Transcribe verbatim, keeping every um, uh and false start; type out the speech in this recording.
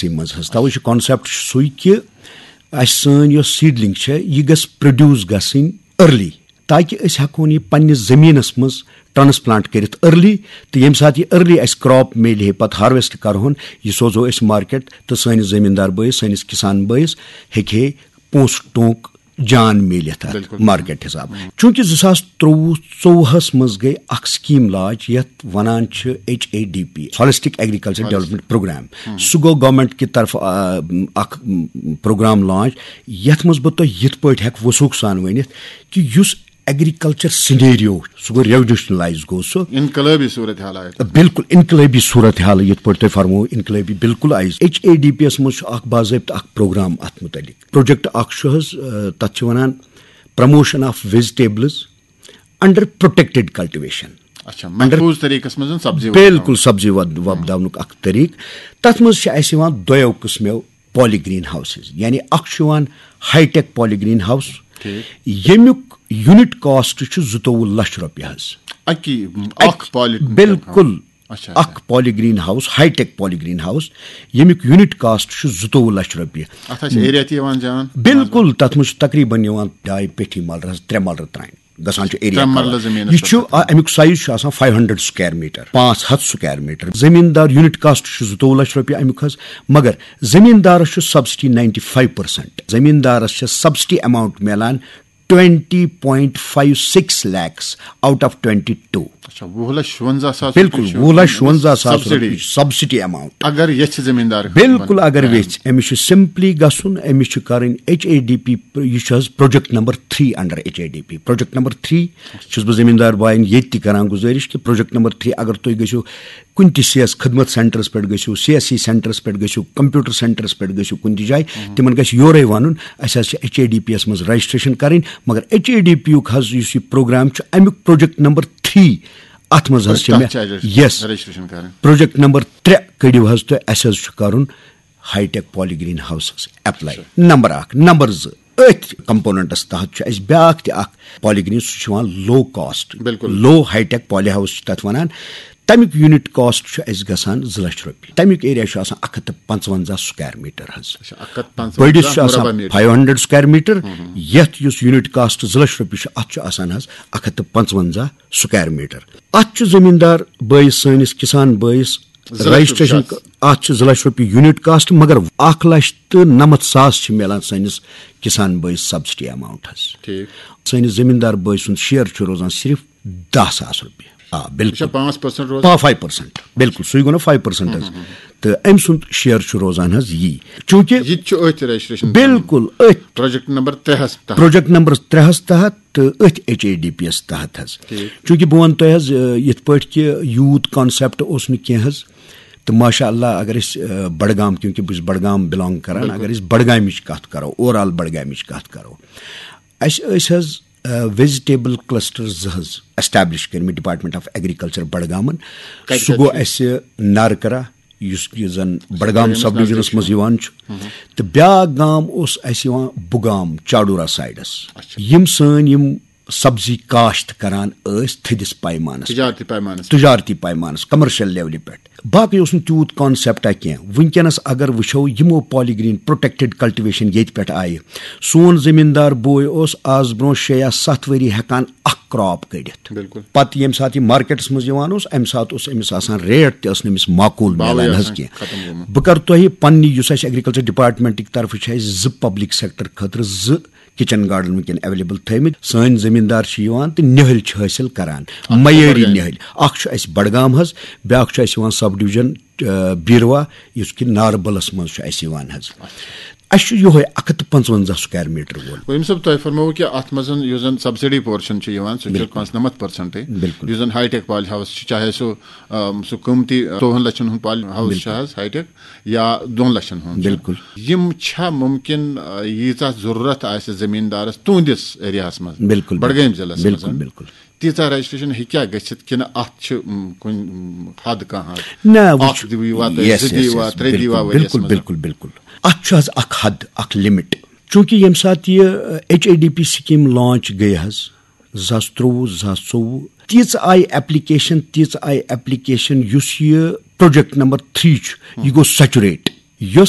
منٛز حظ۔ توے چھُ concept چھُ سُے کہِ اَسہِ سٲنۍ یۄس seedling چھےٚ، یہِ گٔژھ produce گژھٕنۍ early، تاکہِ أسۍ ہٮ۪کہون یہِ پننِس زٔمیٖنَس منٛز transplant کٔرِتھ early، تہٕ ییٚمہِ ساتہٕ یہِ early اَسہِ crop میلہِ ہے، پَتہٕ harvest کَرہون، یہِ سوزو أسۍ market، تہٕ سٲنِس زٔمیٖندار بٲیِس، سٲنِس کِسان بٲیِس ہیٚکہِ ہے پونٛسہٕ ٹونٛک جان میلِتھ اَتھ بِلکُل۔ Market حِساب۔ چوٗنٛکہِ زٕ ساس ترٛۆوُہ ژۄوُہس منٛز گٔے اکھ scheme launch، یَتھ وَنان چھِ H A D P، Holistic Agriculture Development Program۔ سُہ گوٚو government کہِ طرفہٕ، آ، اکھ، م، program launch، یَتھ منٛز بہٕ تۄہہِ یِتھ پٲٹھۍ ہٮ۪کہٕ وثوٗق سان ؤنِتھ کہِ یُس agriculture scenario، سُہ گوٚو revolutionise، گوٚو سُہ۔ انقلٲبی صورت حال آیہِ۔ بِلکُل انقلٲبی صورت حال، یِتھ پٲٹھۍ تۄہہِ فرموو، انقلٲبی بِلکُل آیہِ۔ H A D P یَس منٛز چھُ اکھ باضٲبطہٕ اکھ program اَتھ مُتعلِق۔ Project اکھ چھُ حظ، آ، تَتھ چھِ وَنان promotion of vegetables under protected cultivation۔ اچھا، محفوٗظ طریٖقس منٛز سبزی بِلکُل وۄپداوٕنۍ۔ سبزی وۄد-، وۄپداونُک اکھ طریٖقہٕ۔ تَتھ منٛز چھِ اَسہِ یِوان دۄیو قٕسمو poly green houses، یعنی اکھ چھُ یِوان high tech poly green house، ٹھیٖک۔ ییٚمیُک unit cost چھُ زٕتووُہ لَچھ رۄپیہِ حظ۔ اَکی، اکھ poly، بِلکُل۔ اچھا، اچھا۔ اکھ poly green house، high tech poly green house، ییٚمیُک unit cost چھُ زٕتووُہ لَچھ رۄپیہِ۔ اتھ آسہِ area تہِ یِوان جان؟ بِلکُل، تَتھ منٛز چھُ تقریٖباً یِوان ڈاے پیٹھی ملرٕ حظ، ترٛےٚ ملرٕ ترٛامہِ۔ گژھان چھُ area ترٛےٚ cover۔ مرلہٕ زٔمیٖنَس یہِ چھُ، پٮ۪ٹھ۔ آ، اَمیُک size چھُ آسان five hundred square meter، پانٛژھ ہَتھ square meter۔ زٔمیٖندار unit cost چھُ زٕتووُہ لَچھ رۄپیہِ اَمیُک حظ، مگر زٔمیٖندارَس چھُ subsidy ninety five percent۔ زٔمیٖندارَس چھِ subsidy amount میلان twenty point five six lakhs out of twenty two۔ اچھا، وُہ لَچھ شُوَنزاہ ساس بِلکُل، رۄپیہِ چھُ وُہ لَچھ شُوَنزاہ ساس subsidy۔ رۄپیہِ چھُ subsidy amount۔ اگر یژھِ زٔمیٖندار بِلکُل، اگر بَنُن۔ یژھِ، أمِس چھُ simply گژھُن، أمِس چھُ کَرٕنۍ H A D P، یہِ چھُ حظ project number three under H A D P۔ Project number three چھُس بہٕ زٔمیٖندار بایَن ییٚتہِ تہِ کَران گُزٲرِش کہِ project number three، اگر تُہۍ گٔژھِو کُنہِ تہِ C S خدمت centreس پٮ۪ٹھ گٔژھِو، C S C centreس پٮ۪ٹھ گٔژھِو، computer centreس پٮ۪ٹھ گٔژھِو کُنہِ تہِ جایہِ، تِمَن گژھِ یورَے وَنُن، اَسہِ حظ چھِ H A D Pیَس منٛز registration کَرٕنۍ، مگر H A D Pیُک حظ یُس یہِ program چھُ، اَمیُک project number three، اَتھ منٛز حظ چھِ تَتھ مےٚ، چھِ اَسہِ yes، registration کَرٕنۍ۔ Project number ترٛےٚ کٔڑِو حظ تُہۍ، اَسہِ حظ چھُ کَرُن high tech poly green houses apply۔ اچھا۔ Number اکھ، number زٕ، أتھۍ componentس تحت چھُ اَسہِ بیٛاکھ تہِ اکھ poly green، سُہ چھُ یِوان low cost، بِلکُل۔ Low high tech poly house چھِ تَتھ وَنان۔ تَمیُک unit cost چھُ اَسہِ گژھان زٕ لَچھ رۄپیہِ۔ تَمیُک area چھُ آسان اَکھ ہَتھ تہٕ پانٛژوَنزاہ square meter حظ۔ اچھا، اَکھ ہَتھ پانٛژوَنزاہ بٔڑِس چھُ آسان مربع meter۔ Five hundred square meter، یَتھ یُس unit cost زٕ لَچھ رۄپیہِ چھُ، اَتھ چھُ آسان حظ اَکھ ہَتھ تہٕ پانٛژوَنزاہ square meter۔ اَتھ چھُ زٔمیٖندار بٲیِس، سٲنِس کِسان بٲیِس زٕ لَچھ رۄپیہِ registration، چھُ اَتھ۔ اَتھ چھُ زٕ لَچھ رۄپیہِ unit cost، مگر اَکھ لَچھ تہٕ نَمَتھ ساس چھِ میلان سٲنِس کِسان بٲیِس subsidy amount حظ۔ ٹھیٖک۔ سٲنِس زٔمیٖندار بٲے سُنٛد share چھُ روزان صرف دَہ ساس رۄپیہِ۔ آ، یہِ چھا بِلکُل۔ پانٛژھ percent روزان؟ پا-، five percent۔ بِلکُل، سُے گوٚو نا five percent حظ۔ تہٕ أمۍ سُنٛد share چھُ روزان حظ یی۔ چوٗنٛکہِ یہِ تہِ چھُ أتھۍ registration بِلکُل أتھۍ project number ترٛےٚ ہَس تحت۔ Project number ترٛےٚ ہَس تحت تہٕ أتھۍ H A D Pیَس تحت حظ۔ ٹھیٖک۔ چوٗنٛکہِ بہٕ وَنہٕ تۄہہِ حظ، آ، یِتھ پٲٹھۍ کہِ youth concept اوس نہٕ کینٛہہ حظ۔ تہٕ ماشاء اللہ، اگر أسۍ، آ، بڈگام، کیونکہِ بہٕ چھُس بڈگام belong کران، بِلکُل۔ اگر أسۍ بڈگامٕچ کَتھ کَرو، overall بڈگامٕچ کَتھ کَرو، اَسہِ ٲسۍ حظ، آ، vegetable cluster زٕ حظ establish کٔرمٕتۍ Department of Agriculture بڈگامَن۔ کَتہِ سُہ کَتہِ گوٚو چھُ؟ اَسہِ نارکرا، یُس، یُس زَن بڈگام تۄہہِ أمِس sub divisionس نزدیٖک منٛز چھُ۔ یِوان چھُ۔ تہٕ بیٛاکھ گام اوس اَسہِ یِوان بُگام، چاڈورا sideس۔ اچھا۔ یِم سٲنۍ یِم سبزی کاشت کران ٲسۍ تھٔدِس پیمانس پٮ۪ٹھ۔ تجارتی پیمانس پٮ۪ٹھ۔ تجارتی پیمانس، commercial levelہِ پٮ۪ٹھ۔ باقٕے اوس نہٕ تیوٗت concept کینٛہہ۔ وٕنکیٚنس اگر وٕچھو، یِمو poly green protected cultivation ییٚتہِ پٮ۪ٹھ آیہِ، سون زٔمیٖندار بوے اوس آز برونٛہہ شےٚ یا ستھ ؤری ہٮ۪کان اکھ crop کٔڑِتھ۔ بِلکُل۔ پتہٕ ییٚمہِ ساتہٕ یہِ marketس منٛز یِوان اوس، امہِ ساتہٕ اوس أمِس آسان rate تہِ ٲس نہٕ أمِس معقول باوٕے میلان حظ آسان کینٛہہ۔ ختم گوٚمُت۔ بہٕ کرٕ تۄہہِ پننہِ، یُس اسہِ agriculture departmentٕکۍ طرفہٕ چھِ اسہِ زٕ public sector خٲطرٕ زٕ kitchen garden وٕنکیٚن available تھٲومٕتۍ۔ سٲنۍ زٔمیٖندار چھِ یِوان تہٕ نِہٕلۍ چھِ حٲصِل کران، اکھ چھُ معیٲری بڑگامہِ۔ نِہٕلۍ۔ اکھ چھُ اسہِ بڈگام حظ، بیٛاکھ چھُ اسہِ یِوان sub division، آ، بیٖروا، یُس کہِ ناربلس منٛز چھُ اسہِ یِوان حظ۔ اچھا۔ اسہِ چھُ یِہوے اکھ ہَتھ تہٕ پنٛژوَنزاہ square meter وول۔ وۄنۍ ییٚمہِ ساتہٕ تۄہہِ فرمووُ کہِ اتھ منٛز یُس زن subsidy portion چھُ یِوان، سُہ چھُ بِلکُل۔ پانٛژھ نَمَتھ percent۔ بِلکُل۔ یُس زن high tech poly house چھُ، چاہے سُہ، آم، سُہ قۭمتی ژوٚوُہن لَچھن ہُنٛد poly house چھُ بِلکُل۔ حظ high tech، یا دۄن لَچھن ہُنٛد چھُ۔ بِلکُل۔ یِم چھا مُمکِن، آ، ییٖژاہ ضروٗرت آسہِ زٔمیٖندارس تُہنٛدِس areaہس منٛز، بِلکُل، بڈگٲمۍ بِلکُل۔ ضلعس بِلکُل، منٛز، بِلکُل۔ تیٖژاہ registration ہیٚکیٛاہ گٔژھِتھ کِنہٕ اتھ چھِ، م، کُنہِ، م، حد کانٛہہ حد؟ نہ، وٕچھ، اکھ دِیِو یوٗت، yes، زٕ دِیِو yes، یوٗت، yes، ترٛےٚ دِیِو بِلکُل، وؤریَس بِلکُل، منٛز؟ بِلکُل، بِلکُل، بِلکُل۔ اتھ چھُ حظ اکھ حد، اکھ limit۔ چوٗنٛکہِ ییٚمہِ ساتہٕ یہِ، آ، H A D P scheme launch گٔے حظ، زٕ ساس ترٛۆوُہ، زٕ ساس ژوٚوُہ، تیٖژ آیہِ application، تیٖژ آیہِ application، یُس یہِ project number three چھُ، یہِ گوٚو saturate۔ یۄس